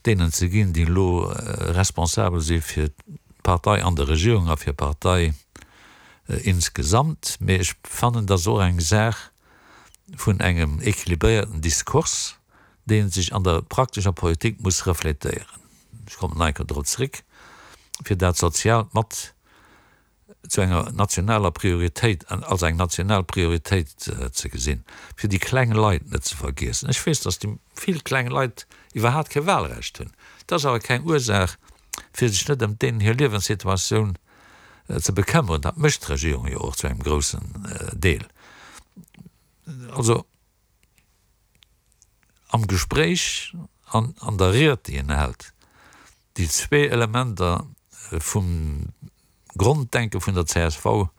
deenen ze ginn, déi elo responsabel si fir d'Partei an der Regierung a fir d'Partei insgesamt. Mee ech fannen, dat ass och eng Saach vun engem équilibréierten Diskurs, dee sech an der praktescher Politik muss reflétéieren. Ech kommen nach eng Kéier drop zréck, fir dat Soziaalt mat zu enger nationaler Prioritéit, als eng national Prioritéit ze gesinn, fir déi kleng Leit net ze vergiessen. Ech weess, datt déi vill kleng Leit iwwerhaapt kee Wahlrecht hunn. Dat ass awer keng Ursaach, fir sech net ëm deenen hir Liewenssituatioun ze bekëmmeren. Dat mécht d'Regierung jo och zu engem groussen Deel. Also. am Gespréich an an der Ried, déi en hält, déi zwee Elementer vum Gronddenke vun der csv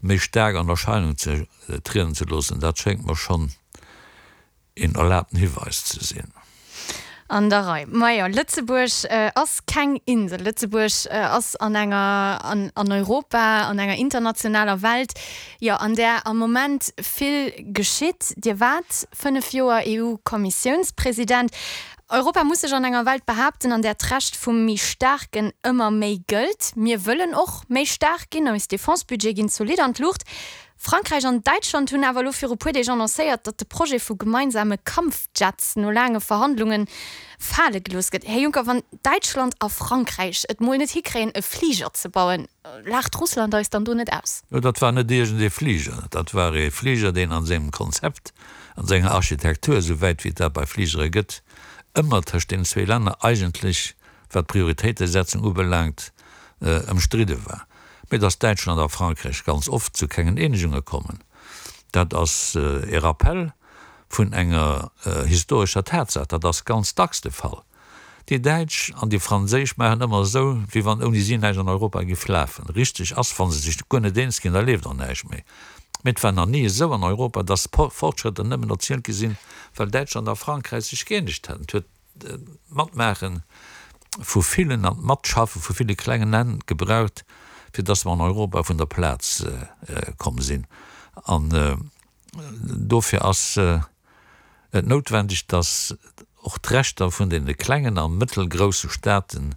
méi staark an Erscheinung ze trieden ze loossen, dat schéngt mer schonn een erlaabten Hiweis ze sinn. An der Rei. Majo, Lëtzebuerg ass keng Insel. Lëtzebuerg ass an enger, an Europa, an enger internationaler Welt, jo, an där am Moment vill geschitt. Dir waart 5 Joer EU-Kommissiounspresident. Europa muss sech an enger Welt behaapten, an där d'Recht vum méi Staarken ëmmer méi gëllt. Mir wëllen och méi staark ginn, eis Defense-Budgete ginn zolidd an d'Luucht. Frankräich an Däitschland hunn awer elo viru puer Deeg annoncéiert, datt de Projet vu gemeinsame Kampfjets no laange Verhandlunge fale gelooss gëtt. Här Juncker, wann Däitschland a Frankräich et mol net hikréien e Fliger ze bauen, laacht Russland eis dann do net aus? Jo, dat war net iergend ee Fliger, dat war ee Fliger, deen an sengem Konzept, an senger Architektur, esou wäit wéi et dat bei Fligere gëtt, ëmmer tëscht deenen zwee Länner eigentlech, wat d'Prioritéitesetzung ubelaangt, ëmstridde war. Mee datt Däitschland a Frankräich ganz oft zu kengen Eenegunge kommen, dat ass e Rappell vun enger historescher Tatsaach. Dat ass ganz dacks de Fall. Déi Däitsch an déi Franséisch maachen ëmmer esou, wéi wann ouni si näischt an Europa giff lafen. Richteg ass, wa se sech guer net eens ginn, da leeft och näischt méi. Mee et war nach ni esou an Europa, datt Fortschrëtter nëmmen erzielt gi sinn, well Däitschland a Frankräich sech gëeenegt hätten. Et huet d'Matmaache vu villen an d'Matschaffe vu ville klengen Länn gebraucht, fir datt mer an Europa vun der Plaz komm sinn. An dofir ass et noutwendeg, datt och d'Rechter vun deene klengen a mëttelgrousse Staaten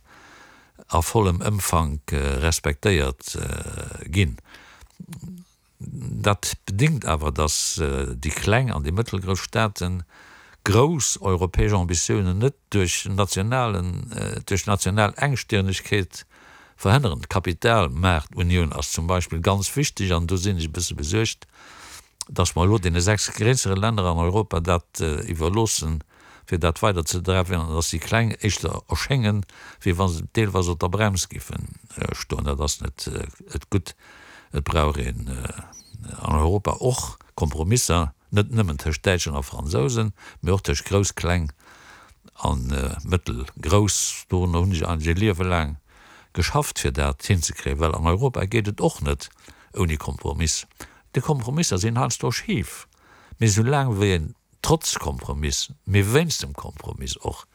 a vollem Ëmfank respektéiert ginn. Dat bedingt awer, datt déi kleng an déi mëttelgrouss Staate grouss europäesch Ambitiounen net duerch nationalen, duerch national Engstirnegkeet verhënneren. D'Kapitalmaartunioun ass zum Beispill ganz wichteg an do sinn ech e bësse besuergt, datt mer elo deene 6 gréissere Länner an Europa dat iwwerloossen, fir dat weider ze dreiwen an datt déi Kleng éischter erschéngen, wéi wa se deelweis op der Brems géife stoen. Dat ass net gutt. Et brauch een an Europa och Kompromisser, net nëmmen tëscht Däitschen a Fransousen, mee och tëscht grouss, kleng a mëttelgrouss. Dorunner hunn ech eigentlech e Liewe laang geschafft, fir dat hinzekréien, well an Europa geet et och net ouni Kompromiss. Déi Kompromisser sinn heiansdo schif, mee soulaang wéi een trotz Kompromiss, mee wéinst dem Kompromiss och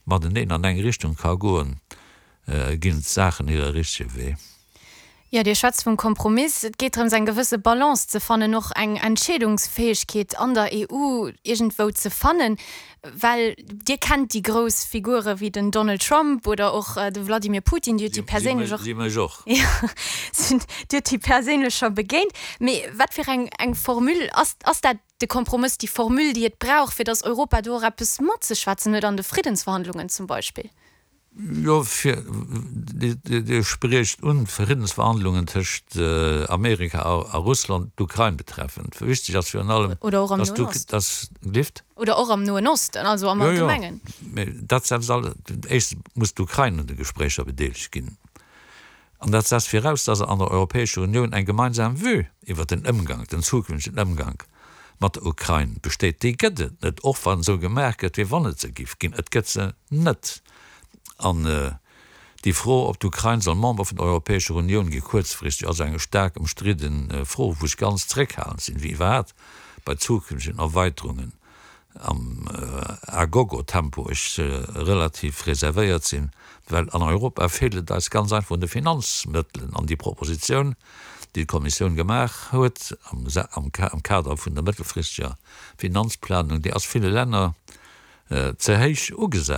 mateneen an eng Richtung ka goen, ginn d'Saachen hire richtege Wee. Jo, Dir schwätzt vum Kompromiss. Et geet drëms, eng gewësse Balance ze fannen, och eng Entscheedungsfäegkeet an der EU iergendwou ze fannen. Well Dir kennt déi grouss Figure wéi den Donald Trump oder och de Vladimir Putin, Dir hutt déi perséinlech och. Si mech och. Jo, Dir hutt déi perséinlech scho begéint. Mee wat fir eng eng Formule ass, ass dat de Kompromëss, déi Formule, déi et brauch, fir datt Europa do och eppes matzeschwätzen huet an de Friddensverhandlungen zum Beispill? Jo, fir, Dir spriecht un d'Friddensverhandlungen tëscht Amerika a Russland, d'Ukrain betreffend. Wichteg ass virun allem, Oder och am Noen Osten. dass, Lift? Oder och am Noen Osten, also am Allgemengen. Jo, jo, mee dat setzt all, éischtens muss d'Ukrain un de Gespréicher bedeelegt ginn. An dat setzt viraus, dass an der Europäescher Unioun eng gemeinsam Vue iwwert den Ëmgank, den zukünftegen Ëmgank mat der Ukrain besteet. Déi gëtt et net, och wann esou gemaach gëtt, wéi wann et se giff ginn. Et gëtt se net. An déi Fro, ob d'Ukrain soll Member vun der Europäescher Unioun gi kuerzfristeg, ass eng staark ëmstridde Fro, wou ech ganz zréckhalend sinn, wéi iwwerhaapt bei zukünftegen Erweiterungen. am A-Gogo-Tempo ech relativ reservéiert sinn, well an Europa feelt et eis ganz einfach un de Finanzmëttelen. An déi Propositioun, déi d'Kommissioun gemaach huet am Kader vun der mëttelfristeger Finanzplanung, déi ass ville Länner ze héich ugesat.